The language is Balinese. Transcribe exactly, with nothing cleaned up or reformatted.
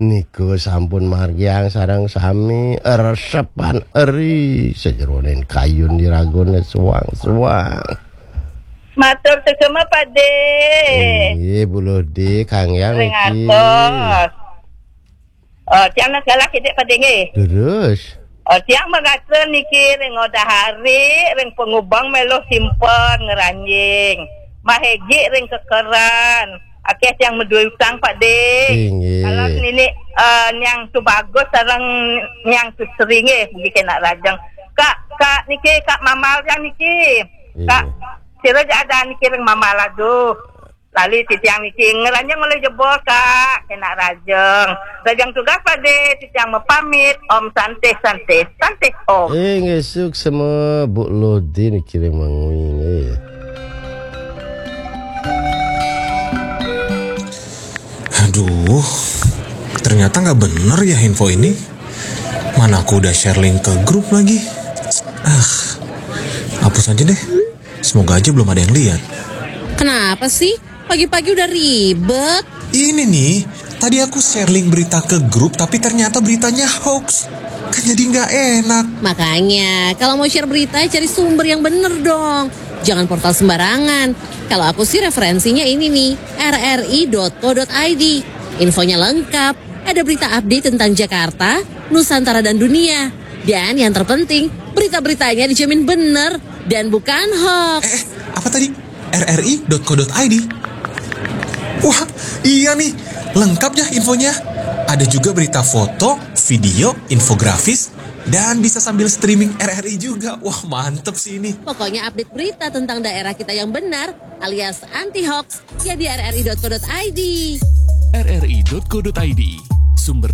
Niku sampun margiang sareng sami resepan eri sajeroning kayun diragone suang-suang. Matur suksma, Pade. Inggih, Bu Lode, Kang Yang Ring niki. Atos. Oh, tiang nak galak idik, Pade, nggih. Terus. Oh, tiang magaten niki ring Odahari, ring Pangubeng melu simpen ngranjing. Mahegi ring Kekeran. Akeh tiang madué utang, Pade. Inggih. Kalau nini eh, Nyang Subagus sareng Nyang Sutri nggih, mugi kenak rajeng. Kak, Kak niki, Kak Mamal yang niki. Iya. Kak, sira ja ada niki ring Mamal, aduh. Lali titiang niki ngranjing oleh jebol, Kak, kenak rajeng. Rajeng tugas, Pade, titiang mapamit. Om Santih, Santih, Santih Om. Inggih, suksma Bu Lode niki ring Mengwi nggih. Aduh, ternyata nggak bener ya info ini. Mana aku udah share link ke grup lagi. Ah, hapus aja deh. Semoga aja belum ada yang lihat. Kenapa sih? Pagi-pagi udah ribet. Ini nih, tadi aku share link berita ke grup tapi ternyata beritanya hoax. Kan jadi nggak enak. Makanya, kalau mau share berita, cari sumber yang bener dong. Jangan portal sembarangan. Kalau aku sih referensinya ini nih, rri.co.id. Infonya lengkap. Ada berita update tentang Jakarta, Nusantara, dan dunia. Dan yang terpenting, berita-beritanya dijamin bener dan bukan hoax. Eh, apa tadi? rri.co.id. Wah, iya nih, lengkap ya infonya. Ada juga berita foto, video, infografis, dan bisa sambil streaming R R I juga. Wah, mantep sih ini. Pokoknya update berita tentang daerah kita yang benar alias anti hoax ya di rri.co.id. rri.co.id, sumber